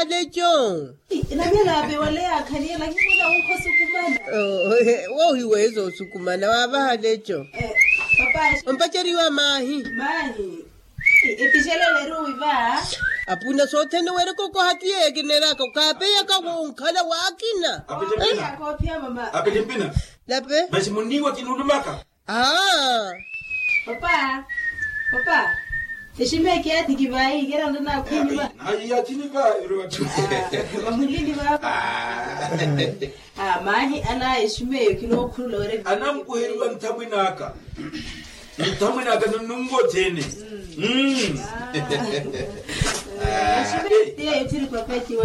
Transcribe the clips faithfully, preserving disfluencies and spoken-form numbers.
Leco. Namilaape wale yakhaliye lakini muna wunkhosukumana. Woohiweeza osukumana waavaha leco. Ompaceriwa maahi. Epixelele eruwi va. Apuna sothene weereka okoha ti yeekineryaka okaapeyaka wonkhala waakina. Apitipina. Lape. Masi munniiwa kinuulumaka. Aa. Papa. Papa. Eximeke yathi kivaayi kerantona akhwini va. Nayi yathini va. Vamulini vava. Maahi ala eximeke kinookhulula were anamkuheriwa nthamwinaka. Nthamwinaka nunungo thene.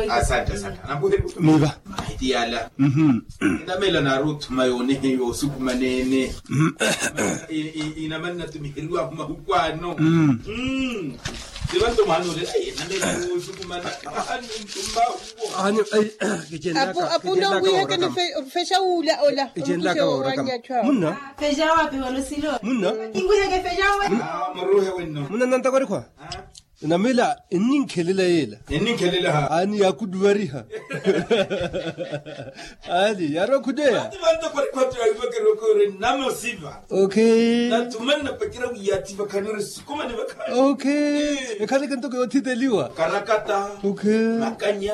Asante asante. Anamkuheriwa. Miva. Mahi tiyala. Namela naaruthuma yonehe yosukumanene. Inamanna tumiheriwa mahukwano. Tivanto mwaanole. Namela yosukumana. Apu apu nowiheke nifexa wuula ola. Munna. Fexa wapi wala osilo. Munna. Munna nantakwarikhwa. Namila enninkhelela yeela. Enninkhelela ha. Ani yaakuduvariha. Ani yaari okhudeya. Namosiva. Okay. Nathumanna pakira wiyathi vakhanire sukumani vakha. Okay. Ekhaleke ntoko yoothiteliwa karakata. Okay. Makanya.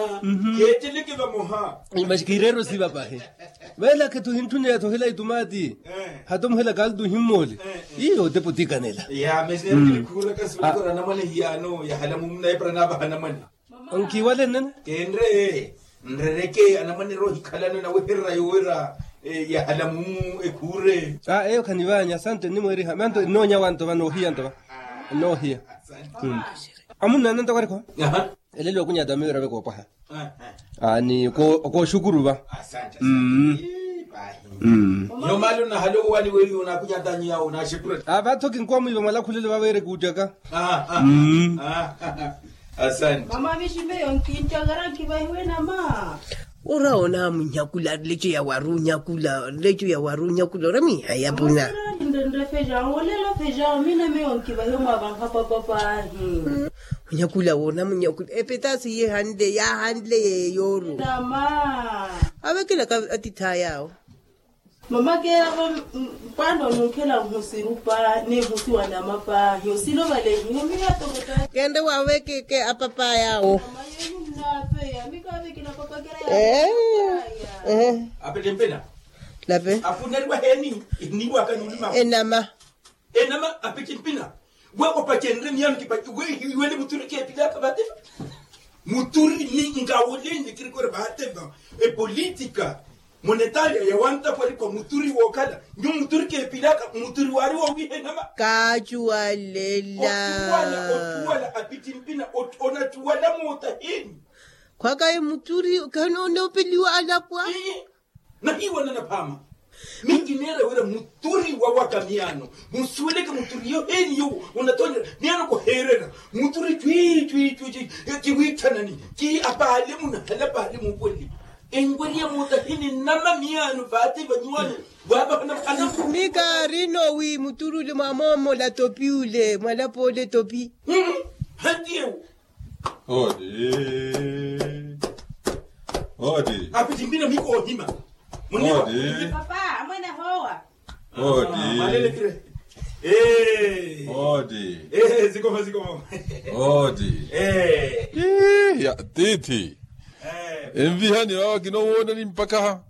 Keeteleke vamoha. Masi kiireera osiva pahi. Veelakhe thuhintthune yathohela itumaati. Hata omuhela kaltu ohimmoole. Iyo otepa otikanela. Mesi nakinikhuhulaka suwekora anamwane hiyaano yahala mumuna epara naavaha anamwane. Onkiwale nnene. Kenre. Nrereke anamwane rohikhalano naweherera yowera. Yahala mumu ekhuure. Eyo khanivaanya asante nnimweeriha manto nnoonya wanto va noohiya nto va. Nnoohiya. Amunna nanto kwarikho. Elelo okunyata miwira vekoopaha. Ni okooxukuru va. Mmm. Mmm. Vaatho kinkuwa mwiiva mwalakhulelo vaveere kuuttaka. Mmm. Mama viximbe yonkinttaka rankivahiwe nama. Ora onaamunnyakula leco ya warunnyakula leco ya warunnyakula ora miiha yapuna. Nrefejawo olela fejawo mina miyo nkivahiwe mwavanhapapapaahi. Munyakula woona munyakula epetasi yeehanle yaahanle yeeyooru. Avekela ka atitha yaawo. Mama keeravo. Pano nunkhela nhusirupa ni nhusiwa namapa hiyo silovalehi hiyo miya tokota. Kende wawekeke apapa yawo. Mama yenyu nnapeya mikavekela papakela ya. Apetempela. Lape apunaliwa heni. Niwaka nulima enama. Enama apitimpina. We opacenre miyano kipaci we hiwene muturi kepilaka vate. Muturi ni ngawoleni kirikore vate va. Epolitika monetaria yawanta kwali kwa muturi wokala nyu muturi kepilaka muturi wali wowihenama. Kacuwalela otuwala apitimpina. Onacuwala mota heni. Khwakaye muturi khanonopeliwa alapwa. Nahiiwana naphaama. Minki neera wira muturi wawaka miyaano. Munsuweleke muturi yoheeni yowo onatoonera miyaano koheerera. Muturi cwii cwii cwii cwii. Kiwiithanani ki apaale munahala paale muupweleli. Enweriya moota hininnama miyaano vaati vanyuwaano. Vaapakhana. Mika arino wi muturi ule mwamoomola topi ule mwalapoole topi. Hanti ewo. Odi. Odi. Apitimbina miko ohima. Odi. Papa amwene howa. Odi. Malele kire. Odi. Zikoma zikoma. Odi. Ya titi. Envihani wawa kinowoonani mpakha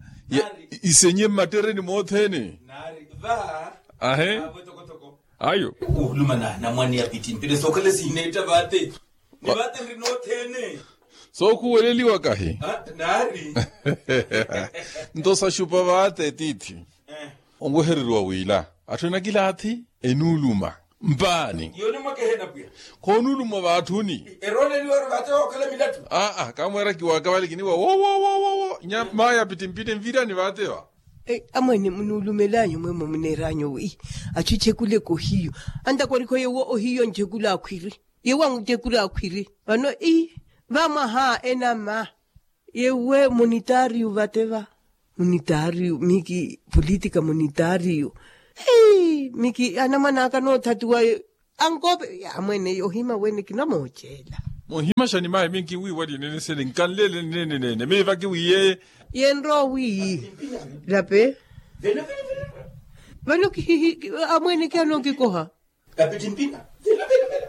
isenye mmattereni moothene. Ahe. Ayo. Ohulumana namwane ya pitimpire sookhala sineetta vaate. Ni vaate nri noothene. Sookhuweleliwa kahi. Naari. Nto saxupa vaate tiithi. Onwehereriwa wila atthu enakilaathi enuuluma mpaani. Yoni mwakehena pwiya. Khoonuuluma vaathuni. Erooleliwari vaate wookhala milattu. Aa kamweera kiwaaka vale kiniwa wo wo wo wo. Nyamaya pitimpire nvirani vaate va. Amwene munuulumel'anyu mwemwe muneer'anyu wi atthu echekuleke ohiyu. Antakwarikho yewo ohiyu anchekula akhwiri. Yewo anchekula akhwiri vano ii. Vamwaha enama. Yewe munitaariyu vate va. Munitaariyu miki politika munitaariyu. Hii miki anamwan'aka noothatiwa. Ankoope amwene ohima wene kinamooceela. Ohimaxani mayi minki wiiwa linene sene nkanlele nene nene miiva kiwiye. Yenrowi lape. Vano kihihi amwene kiano kikoha. Apiti mpina. Vela vela vela.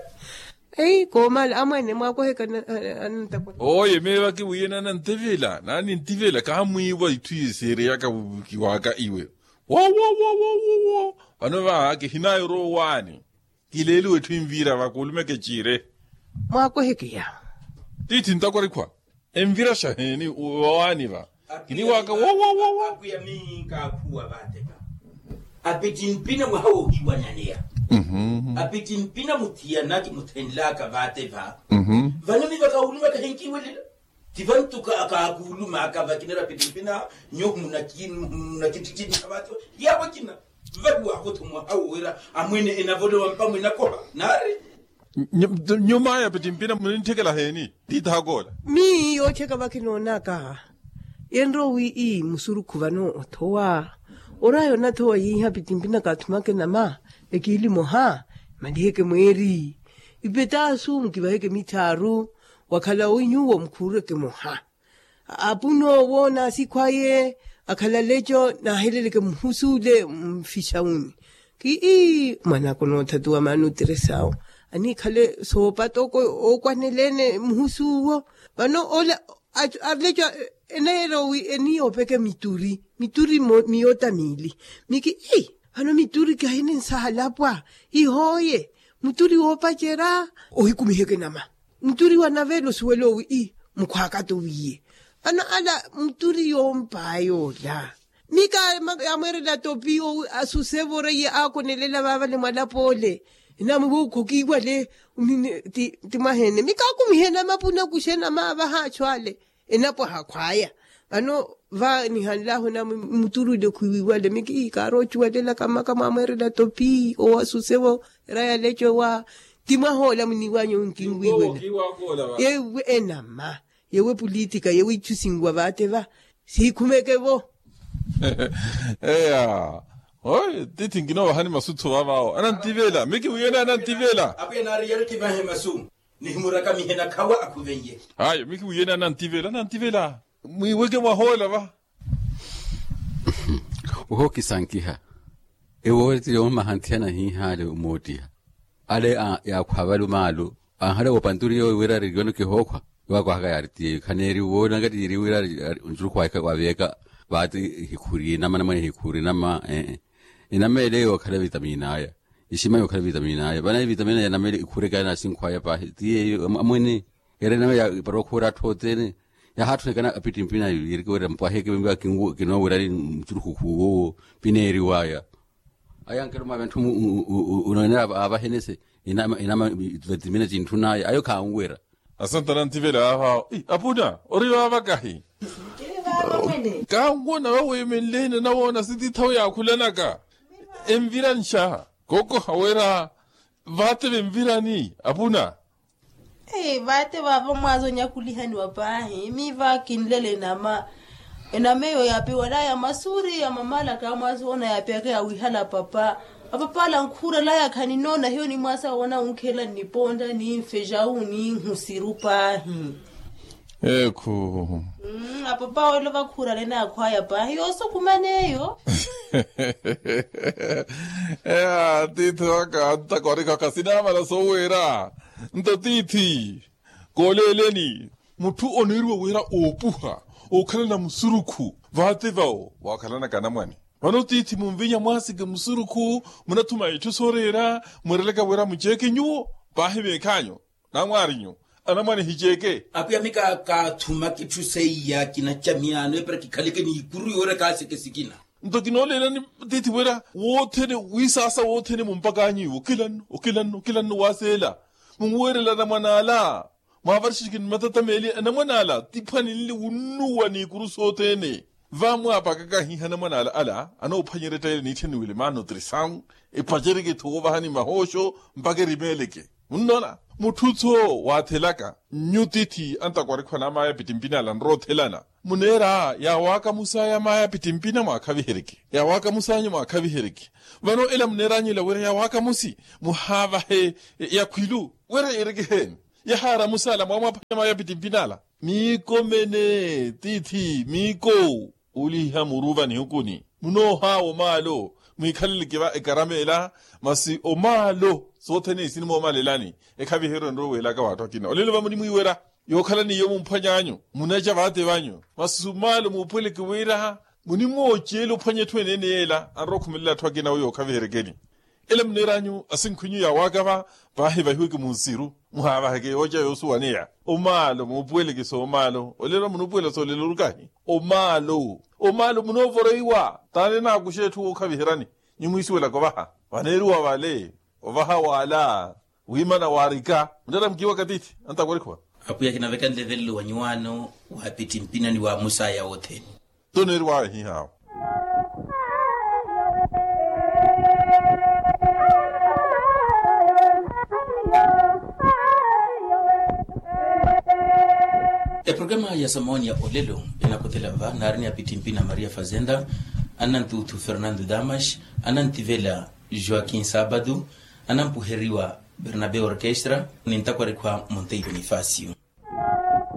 Ei koomala amwene mwakoheka anantakwa. Oye miiva kiwiye nanantivila nanintivila kahamwiiwa itthu yisiriyaka kiwaka iwe. Wo wo wo wo wo wo. Vano vaha kihinayoro owaani. Kileeliwe etthu envira va kuulumeke ciire. Mwaakweheke yawo. Tiithi ntakwa rikhwa. Envira xaheeni owaani va. Kiniwaaka wo wo wo wo. Apiti mpina mwaha woohiwanyaneya. Apiti mpina muthiyanaki muthenlaka vaate va. Vano miva kaulumaka henkiwelela. Ti vantu kaakuulumaka vakinera apiti mpina. Nyo munakittittittiha vaate va yavo kina. Vahiwakotho mwaha wowira amwene enavolowa mpamwe nakoha nari. Nyumaya apiti mpina munintthekela heeni? Tiithi hakoola. Miyo ottheka vakinoonaka. Yenrowi ii musurukhu vano othowa. Oraya onathowa yiiha apiti mpina kaathumake nama. Ekiili moha. Maliheke mweeri. Ipetaasu mukivaheke mithaaru. Wakhala owi nyuwo mukhuureke moha. Apun'owo n'asikhw'aye akhala leco naaheleleke muhusuule mfixawuni. Kii mwan'aka onoothatuwa maana otiresawo aniikhale soopata ookwaneleene muhusuuwo. Vano ola aleco eneerowi eniyoopeke mituri mituri miyoota miili. Miki ii vano mituri kahininsaha lapwa. Ihooye muturi woopacerya ohikumiheke nama. Muturi wa navela osuwela owi ii mukhwaaka towiye. Vano ala muturi yoompaya ola. Mika yamweerela topi owi asusevo reiye aakonelela vaavale mwalapoole. Enamwe wookhokiiwale ti mwahene mika akumihe namapuna kuxe namaavaha achu ale. Enapwaha khwaya. Vano va nihanlahu enamwe muturi ole khwiiwale miki kaaroocuwalelaka maka mwamweerela topi owo asusevo. Raya leco wa ti mwahoola muniiwanyu nkinwiwela. Yewe enama yewe pulitika yewe ichu sinwa vaate va siikhumeke vo. Eya. Oye tiithi nkinoovahani masuthu vaavawo anantivela miki wiyene anantivela. Apwiya naari yari kivahe masu. Nihimuraka mihena khawa akhuvenye. Ayo miki wiyene anantivela anantivela. Mwiiweke mwahoola va. Ohookisankiha ewooti yoomaha nthiyana hiihaale omoottiha. Ale yaakhwa valu maalu anhale woopanturiya owi wira ari yono kihookhwa. Iwakwahaka yaari tiyeyo khaneeri woonaka tiiri wira ari oncurukhwaka waveeka. Vaati hikhuri enama namwene hikhuri enama ee. Enama ele yookhala vitamina aya. Ixima yookhala vitamina aya vana vitamina ya nama ele ikhureka ya nasinkhwaya paahi tiyeyo amwene. Ere enama ya iparokhuura atthu othene. Yahaatthunekana apittimpina yiiriki wira mpwaheke vembiwa kinwo kinowirani mucurukhukhu wowo. Pineeriwaya aya nkelo mwa vanthu unoonera avahenese. Inama timina tintthunaya ayo khanwira. Asantana ntivela vava apuna ori vava kahi. Kanwona vaweemenleene nawoona sitithawe yaakhulanaka. Enviranxa koko hawera. Vaate venvirani apuna. Vaate vava mwaaza onyakulihaniwa paahi miiva kinlele enama. Enama eyo yaapiwalaya masuri ya mamaalaka mwaaza oona yaapiyaka yawihala apapa. Apapa ala nkhuurelaya khaninoona hiyo ni mwaasa woona wunkhelela nnipontta ni nfejawu ni nhusiru paahi. Ekhu. Apapa welo vakhuurale naakhwaya paahi yoosukumana eyo. Eya tiithi waka antakwarikaka sinaamala sooweera. Nto tiithi kooleeleni mutthu oneeriwa wira oopuha ookhalana musurukhu. Vaate vawo waakhalanaka anamwane. Vano tiithi munvinya mwaasike musurukhu munathuma itthu sooreera mweerelaka wira muceeke nyuwo. Paahi veekhaanyu namwaarinyu anamwane hiceeke. Apwiya mika kaathumaka itthu seiya kinaca miyaano epira kikhaleke ni ikuru yoorya kaaseke sikina. Nto kinooleelani tiithi wira wothene wiisaasa wothene mumpak'anyu iwo okilanno okilanno okilanno waaseela. Munweerela anamwane ala mwaavarixixiki ni matata meeli anamwane ala tiphwaninle wunnuwa n'ikuru sothene. Vamwaapakaka ahiiha anamwane ala anoophwanyerya ettayele niittheniwile maana otirisau epacereke-tho woovahani mahooxo mpaka erimeeleke. Munnoona mutthu-tho waathelaka nyu tiithi antakwarikhu anamaya pittimpini ala nroothelana. Muneera yaawakamusa yamaya pittimpina mwaakhaviheryeke yaawakamusanyu mwaakhaviheryeke. Vano ela muneer'anyu ela wira yaawakamusi muhaavahe yakhwilu wira yeeryeke eheeni. Yahaara musaala mwaamwaphanya mwa yapittimpina ala. Miikomene tiithi miiko. Oliha muruva nihukuni munoohaawa omaalo. Mwiikhaleleke va ekarama ela. Masi omaalo sothene isinimoomalelani ekhaviheryo enroweelaka w'atthu akina olelo vamunimwiiwerya. Yookhalani iyo mumphwany'anyu munaca vaate vanyu masi omaalo muupuweleke wira. Munimooceela ophwanya etthu eneene yeela anrowa okhumelela atthu akina wi yookhaviheryekeni. Ela muneer'anyu asinkhw'inyu yawaaka va. Vaahivahiweke munsiru muhaavaheke yooca yoosuwaneya. Omaalo muupuweleke soomaalo olelo munuupuwela soolelo orukahi. Omaalo omaalo munoovoreiwa taani enaakuxa etthu wookhaviheryani. Nyu mwiisuwelaka ovaha vaneeriwa vale ovaha waala. Wiimana waarika muttaramukiwaka tiithi antakwarikhuwa. Apwiya kinaveka nlevelelo wa nyuwaano wa apittimpina ni wa musaya wothene. Toneeriwaawe hihaawo. Eprograma ya samoonia olelo enakhuthela va naari ni apittimpina maria fazenda, anantuuthu fernando damas, anantivela joaquin sabado, anampuheriwa bernabe orkestra ni ntakwarikhuwa monteiro nifasio.